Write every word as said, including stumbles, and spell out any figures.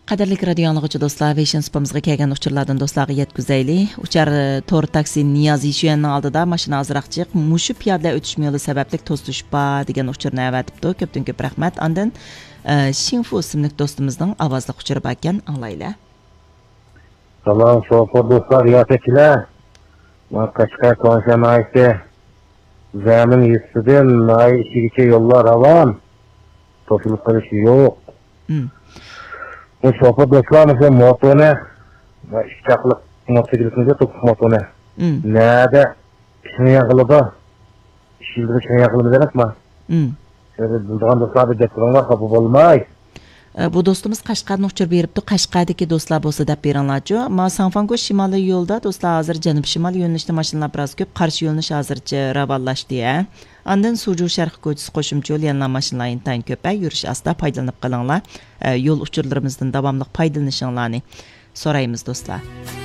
قەدىرلىك رادىيو ئاڭلىغۇچى دوستلار، ۋېيشىن سۇپىمىزغا كەلگەن ئۇچۇرلاردىن دوستلارغا يەتكۈزەيلى. ئۇچار، ئە، تور تاكسى نىياز يىشۈەننىڭ ئالدىدا ماشىنا ئازراق جىق، مۇشۇ پىيادىلەر ئۆتۈش يولى سەۋەبلىك توسۇلۇشۇپ بار دېگەن ئۇچۇرنى ئەۋەتىپتۇ. كۆپتىن كۆپ رەھمەت. ئاندىن، ئە، شىڭفۇ ئىسىملىك دوستىمىزنىڭ ئاۋازلىق ئۇچۇرى باركەن، ئاڭلايلى. سالام، شوپۇر دوستلار، رىياسەتچىلەر. مانا قەشقەر تۇڭشەن ناھىيەسى زەمىن يېزىسىدىن ناھىيە ئىچىگىچە يوللار راۋان. توسۇلۇپ قېلىش يوق. مم. بۇ شوپۇر دوستلار مۇشۇ موتونى، ئۈچ چاقلىق موتوسىكلىتنى، توپلۇق موتونى. مم. نەدە شىڭياڭ قىلىدۇ؟ ئىش يىلدىن شىڭياڭ قىلىدۇ دېمەكمۇ؟ مم. شۇنى بىلىدىغان دوستلار بىر دەپ تۇرۇڭلار، خاپا بولماي. ئە، بۇ دوستىمىز قەشقەردىن ئۇچۇر بېرىپتۇ، قەشقەردىكى دوستلار بولسا دەپ بېرىڭلارچۇ. ما ساڭفاڭگو شىمالىي يولدا دوستلار ھازىر جەنۇب شىمال يۆنىلىشتە ماشىنىلار بىراز كۆپ، قارشى يۆنىلىش ھازىرچە راۋانلاشتى، ھە. ئاندىن سۇجۇ شەرقىي كوچىسى قوشۇمچە يول يەنىلا ماشىنىلار ئىنتايىن كۆپ، ھە، يۈرۈش ئاستا، پايدىلىنىپ قېلىڭلار. ئە، يول ئۇچۇرلىرىمىزدىن داۋاملىق پايدىلىنىشىڭلارنى سورايمىز دوستلار.